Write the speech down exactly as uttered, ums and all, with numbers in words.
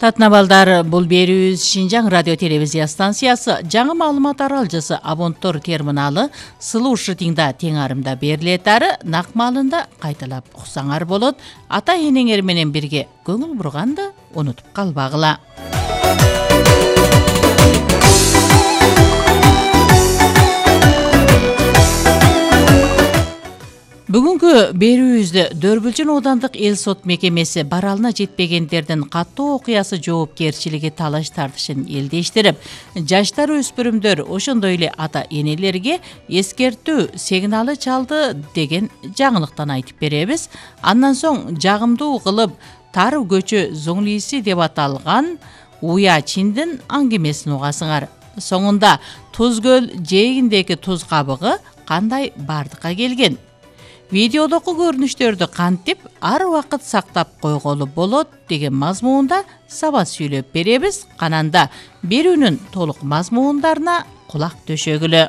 урматтуу балдар, бул берүүбүз Шинжаң радио телевизия станциясы жаңы маалымат аралжысы Абонтор терминалы сылуу шытыңда тең арымда берилет ары нак маалында кайталап уксаңар болот. Ата энеңер менен бирге көңүл бурганды унутуп калбагыла. Бүгүнкү берүүбүздө Дөрбүлчүн оодандык эл сот мекемеси баралына жетпегендердин каттуу окуясы жоопкерчилиги талаш тартышын элдештирип, жаштар өспүрүмдөр ошондой эле ата энелерге эскертүү сигналы чалды деген жаңылыктан айтып беребиз. Андан соң жагымдуу кылып Тар көчө зоңлиси деп аталган Уя Чиндин аңгемесин угасыңар. Соңунда Туз көл жээгиндеги туз кабыгы кандай бардыкка келген? Видеодогу көрүнүштөрдү кантип ар убакыт сактап койголу болот деген мазмуунда сабат сүйлөп беребиз. Кананда берүүнүн толук мазмуундарына кулак төшөгүлө.